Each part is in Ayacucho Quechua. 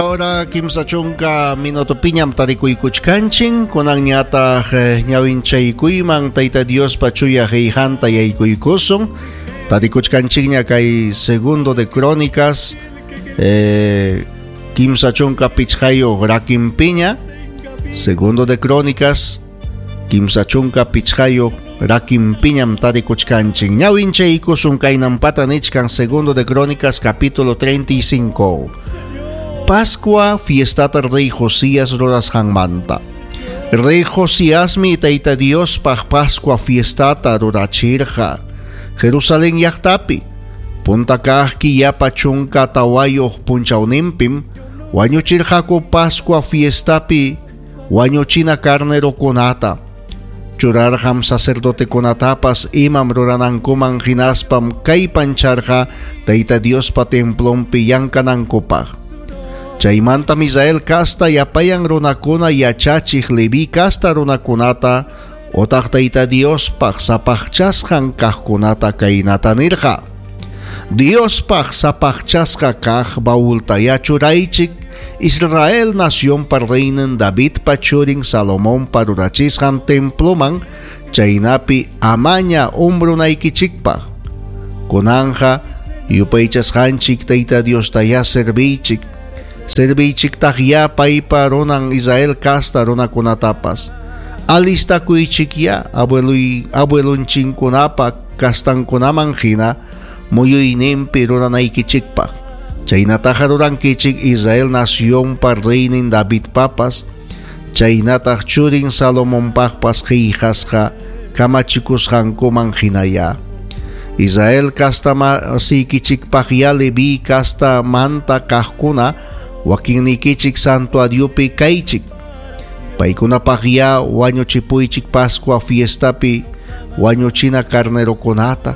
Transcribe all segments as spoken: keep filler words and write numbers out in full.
Ahora kimsa chunka minutopiñam tarikuykuchkanchin kunanñataq ñawinchaykuyman Tayta Diospa chuya qillqanta yaykuykusun. Tarikuchkanchikña kay segundo de Crónicas eh, kimsa chunka pichqayuq rakinpiña. Segundo de Crónicas kimsa chunka pichqayuq rakinpiñam tarikuchkanchin. Ñawinchaykusun kaynampata nichkan segundo de Crónicas capítulo treinta y cinco. Pascua fiestata rey Josías rurasqanmanta. Rey Josiasmi Tayta Diospaq Pascua fiestata rurachirqa Jerusalén llaqtapi. Punta kaq killapa chunka tawayuq punchawninpim wañuchirqaku Pascua fiestapi wañuchina carnerokunata. Churarqam sacerdotekunatapas imam ruranankuman hinaspam kaypancharqa Tayta Diospa templonpi llankanankupaq. Chaymantam Israel casta yapayan runakuna yachachiq Leví casta runakunata otaq Tayta Diospaq sapaqchasqan kaqkunata kaynata nirqa. Diospaq sapaqchasqa kaq baultaya churaychik Israel nacionpa reynin Davidpa churin Salomonpa rurachisqan temploman chaynapi amaña umbrunaykichikpaq. Kunanja yupaychasqanchik Tayta Diostaya serviychik. Serviychiktaq ya paypa runan Israel casta runakunatapas. Alistakuychik ya abueluy abuelunchinkunapa kastankunaman hina muyuyninpi ruranaykichikpaq. Chaynataqa rurankichik Israel nacionpa reynin Davidpapas, chaynataq churin Salomonpaqpas qillqasqa kamachikusqankuman hinaya. Israel casta masiykichikpaq ya Leví casta manta kaqkuna wakinnikichik santuariopi kaychik. Paykunapaq ya wañuchipuychik Pascua fiestapi wañuchina carnerokunata.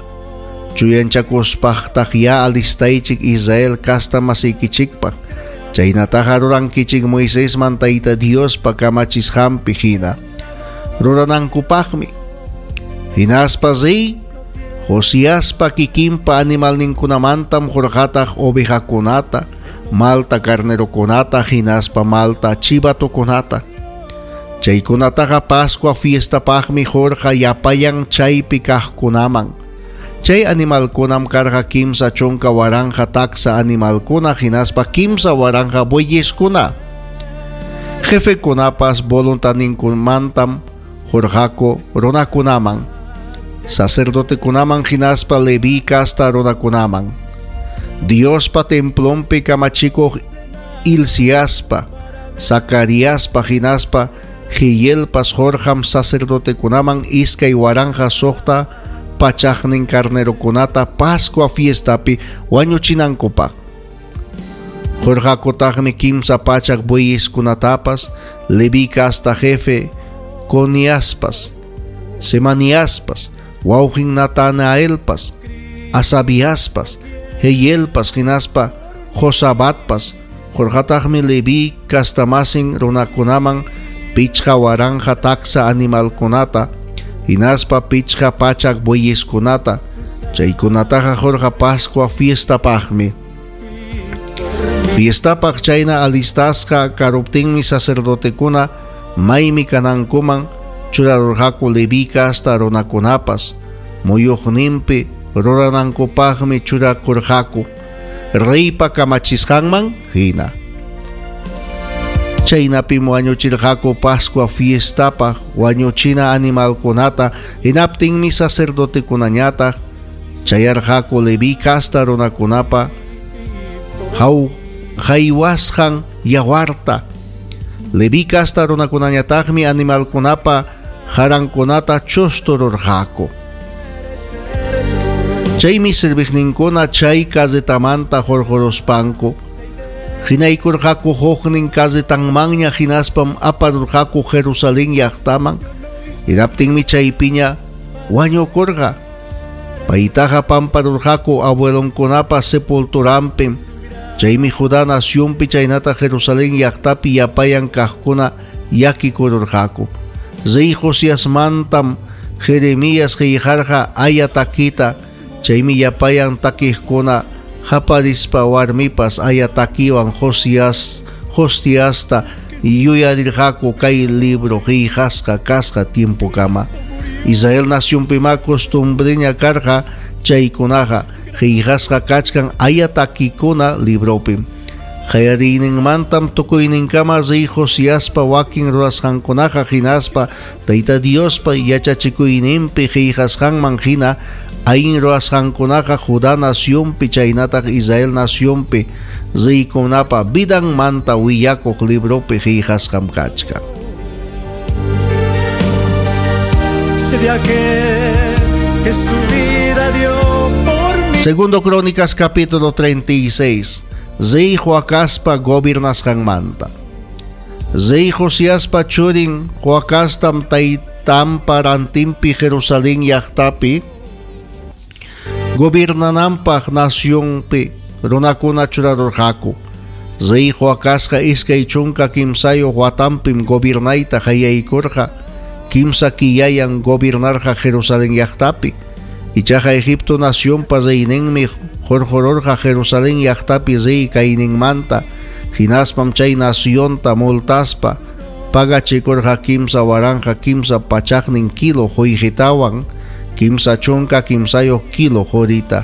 Chuyanchakuspaqtaq ya alistaychik Israel casta masiykichikpaq. Chaynataqa rurankichik Moisesman Tayta Diospa kamachisqanpi hina ruranankupaqmi. Hinaspa rey Josiaspa kikinpa animalninkunamantam hurqataq ovejakunata, malta carnerokunata hinaspa malta chivatokunata. Chaykunataqa Pascua fiestapaqmi hurqa yapayan chaypi kaqkunaman. Chay animalkunam karqa kimsa chunka waranja taksa animalkuna hinaspa kimsa waranja bueyeskuna. Jefekunapas voluntaninkumantam hurqaku runakunaman, sacerdotekunaman hinaspa Leví casta runakunaman. Diospa templonpi kamachikuq Hilciaspa, Zacariaspa hinaspa Jehielpas hurqam sacerdotekunaman iskay waranja suqta pachaqnin carnerokunata Pascua fiestapi wañuchinankupaq. Hurqakutaqmi kimsa pachaq bueyeskunatapas Leví casta jefe Coniaspas, Semaniaspas, wawqin Natanaelpas, Asabiaspas, Jehielpas hinaspa Josabatpas. Hurqataqmi Leví castamasin runakunaman pichqa waranja taksa animalkunata hinaspa pichqa pachak bueyeskunata. Chaykunataqa hurqa Pascua fiestapaqmi. Fiestapaq chayna alistasqa karuptinmi sacerdotekuna maymi kanankuman churarurqaku Leví casta runakunapas muyuqninpi ruranankupaqmi churakurqaku reypa kamachisqanman hina. Chaynapim wañuchirqaku Pascua fiestapaq wañuchina animalkunata. Hinaptinmi sacerdotekunañataq chayarqaku Leví casta runakunapa haw haywasqan yawarta. Leví casta runakunañataqmi animalkunapa harankunata chustururqaku. Chaymi serviqninkuna chay carretamanta hurquruspanku hinaykurqaku huknin carretanmanña hinaspam aparurqaku Jerusalén llaqtaman. Hinaptinmi chaypiña wañukurqa. Paytaqa pamparurqaku abuelonkunapa sepulturanpim. Chaymi Judá nacionpi chaynata Jerusalén llaqtapi yapayan kaqkuna yakikururqaku. Rey Josiasmantam Jeremías qillqarqa aya takita. Chaymi yapayan takiqkuna haparispa warmipas aya takiwan Josías Josiasta yuyarirqaku kay libro qillqasqa kasqa tiempokama. Israel nacionpima costumbreña karqa chaykunaqa qillqasqa kachkan ayatakikuna libropim. Qallariyninmantam tukuyninkama rey Josiaspa wakin rurasqankunaqa hinaspa Tayta Diospa yachachikuyninpi qillqasqanman hina allin rurasqankunaqa Judá nacionpi chaynataq Israel nacionpi reykunapa vidanmanta willakuq libropi qillqasqam kachkan. De aquel que su vida dio por mí. Segundo Crónicas capítulo treinta y seis. Rey Joacazpa gobernasqanmanta. Rey Josiaspa churin Joacaztam taytanpa rantinpi Jerusalén llaqtapi gobernananpaq nacionpi runakuna churarurqaku. Rey Joacazqa iskay chunka kimsayuq watanpim gobernayta qallaykurqa. Kimsa killayan gobernarqa Jerusalén llaqtapi. Ichaqa Egipto nacionpa reyninmi hurqururqa Jerusalén llaqtapi rey kayninmanta, hinaspam chay nacionta multaspa pagachikurqa kimsa waranqa kimsa pachaqnin kilo qullqitawan, kimsa chunka kimsayuq kilo qurita.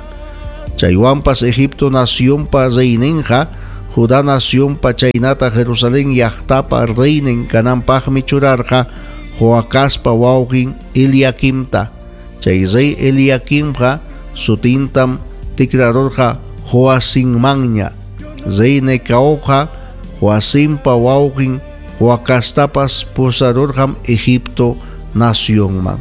Chaywanpas Egipto nacionpa reyninqa Judá nacionpa chaynata Jerusalén llaqtapa reynin kananpaqmi churarqa Joacazpa wawqin Eliaquimta. Chay rey Eliaquimqa sutintam tikrarurqa Joacinmanña. Rey Necaoqa Joacimpa wawqin Joacaztapas pusarurqam Egipto nacionman.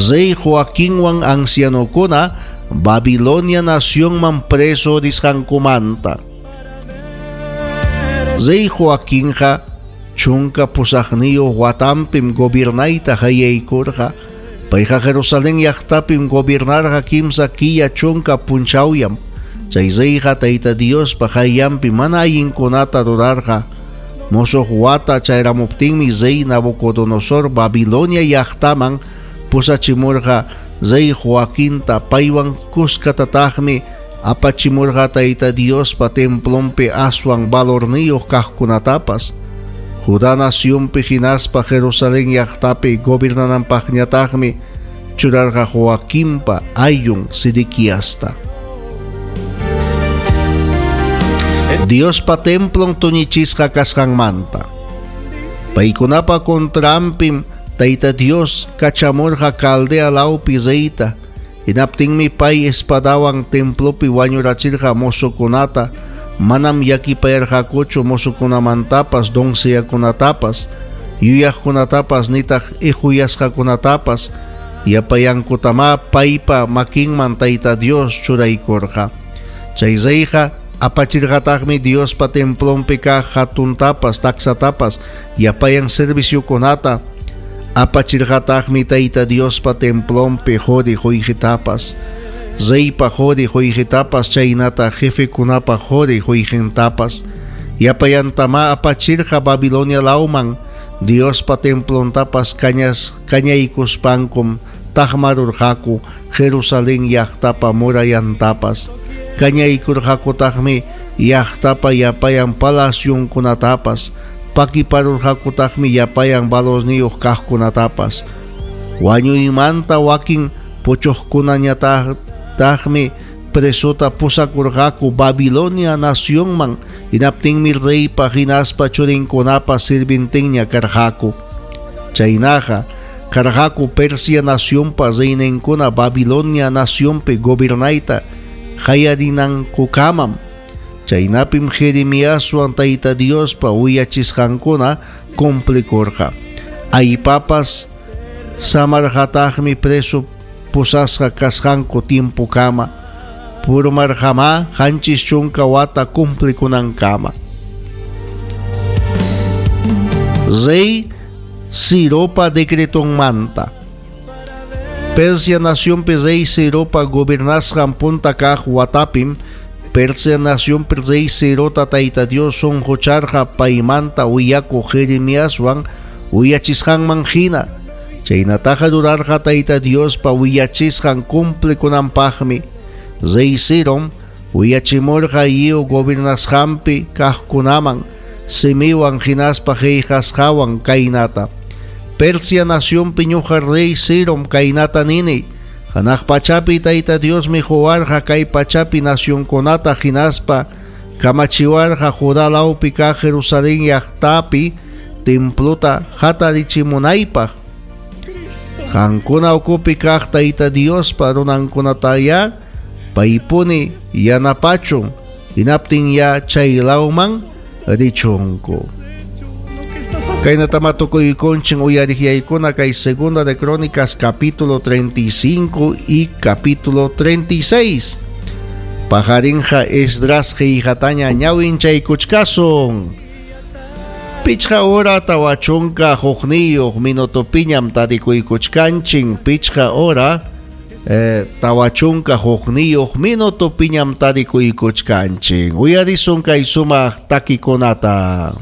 Rey Joaquinwan ancianokuna Babilonia nacionman preso risqankumanta. Rey Joaquinqa chunka pusaqniyuq watanpim gobernayta qallaykurqa. Payqa Jerusalén llaqtapim gobernarqa kimsa killa chunka punchawyam. Chay reyqa Tayta Diospa qayllanpi mana allinkunata rurarqa. Musuq wata chayramuptinmi rey Nabucodonosor Babilonia llaqtaman pusachimurqa rey Joaquinta paywan kuskatataqmi apachimurqa Tayta Diospa templonpi aswan valorniyuq kaqkunatapas. Judá nacionpi hinaspa Jerusalén llaqtapi gobernananpaqñataqmi churarqa Joaquinpa ayllun Sedequiasta. Diospa templon tuñichisqa kasqanmanta. Paykunapa contranpim Tayta Dios kachamurqa Caldea lawpi reyta. Hinaptinmi pay espadawan templopi wañurachirqa mozokunata. Manam llakipayarqakuchu mozokunamantapas, doncellakunatapas, yuyaqkunatapas, nitaq ihuyasqakunatapas. Yapayankutamá paypa makinman Tayta Dios churaykurqa. Chay reyqa apachirqataqmi Diospa templonpi kaq hatuntapas, taksatapas, yapayan serviciokunata. Apachirqataqmi Tayta Diospa templonpi quri qullqitapas, reypa quri qullqitapas, chaynata jefekunapa quri qullqintapas. Yapayantama apachirqa Babilonia lawman Diospa templontapas kañas kañaykuspankum taqmarurqaku Jerusalén llaqtapa murayantapas. Kañaykurqakutaqmi llaqtapa yapayan palacionkunatapas. Pakiparurqakutaqmi yapayan valorniyuq kaqkunatapas. Wañuymanta wakin puchuqkunañataqmi presota pusakurqaku Babilonia nacionman. Hinaptinmi reypa hinaspa churinkunapa sirvintinña karqaku. Chaynaqa karqaku Persia nacionpa reyninkuna Babilonia nacionpi gobernayta qallarinankukamam. Chaynapim Jeremiaswan Tayta Diospa willachisqankuna cumplikurqa. Aypapas samarqataqmi preso pusasqa kasqanku tiempokama. Purmarqamá qanchis chunka wata cumplikunankama. Rey Ciropa decretonmanta. Persia nacionpi rey Ciropa gobernasqan punta kaq watapim Persia nacionpi rey Cirota Tayta Dios sunqucharqa paymanta willakuq Jeremiaswan willachisqanman hina. Chaynataqa rurarqa Tayta Diospa willachisqan cumplikunanpaqmi. Rey Cirom Willachimurqa lliw gobernasqanpi kaqkunaman simiwan hinaspa qillqasqawan kaynata. Persia nacionpi ñuqa rey Cirom kaynata nini. Hanaq pachapi Tayta Diosmi quwarqa kay pachapi nacionkunata hinaspa kamachiwarqa Judá lawpi kaq Jerusalén llaqtapi templuta hatarichimunaypaq. Qankuna ukupi kaq Tayta Diospa runankunataya paypuni yanapachun hinaptin ya chay lawman richunku. Kaynata matukuykunchin uyariqyaykuna kay Segunda de Crónicas capítulo treinta y cinco y capítulo treinta y seis. Pajarinja Esdras qillqataña ñawinchaykuchkasun. Pichqa hora tawa chunka hukniyuq minutopiñam tarikuykuchkanchin. Pichqa hora eh, tawa chunka hukniyuq minutopiñam tarikuykuchkanchin. Uyarisun kay sumaq takikunata.